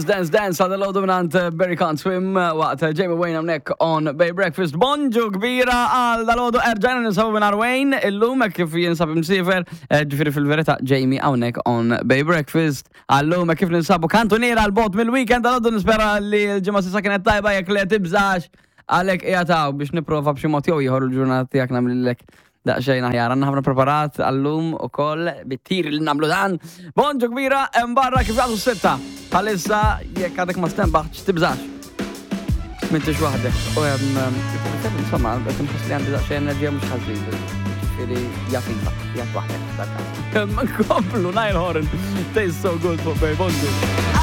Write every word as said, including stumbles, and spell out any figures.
Dance Dance għal dalgħodu mingħand Barry Can't Swim waqt Jamie Wayne hawnhekk on Bay Breakfast. Bonġu kbira għal dalgħodu, erġajna ninsabu minn Wayne illum hekk kif jinsab imsiefer, eh, ġifieri fil-verità Jamie hawnhekk on Bay Breakfast. Għallum hekk kif ninsabu kantuniera 'l bogħod mill-weekend dalgħodu, nispera li l-ġimgħa s'issa kienet tajba, jekk le tibżax, għalhekk qiegħed biex nipprova b'xi mod jew ieħor il-ġurnata tiegħek nagħmlilek daqsxejn aħjar. Għandna ħafna preparat għallum ukoll bit-tir li nagħmlu dan. Bonġu kbira, hemm barra kif jagħtu sitta. Bħalissa, jekk għadek ma stenbaħtx, tibżax. M'intix waħdek. U hemm, insomma, qed inħoss li għandi daqsxejn enerġija mhux ħażin. Ġifieri jafifa, jgħid waħdek dak. Nkomplu Niall Horan. Tastes so good fuq Bay. Bonġu.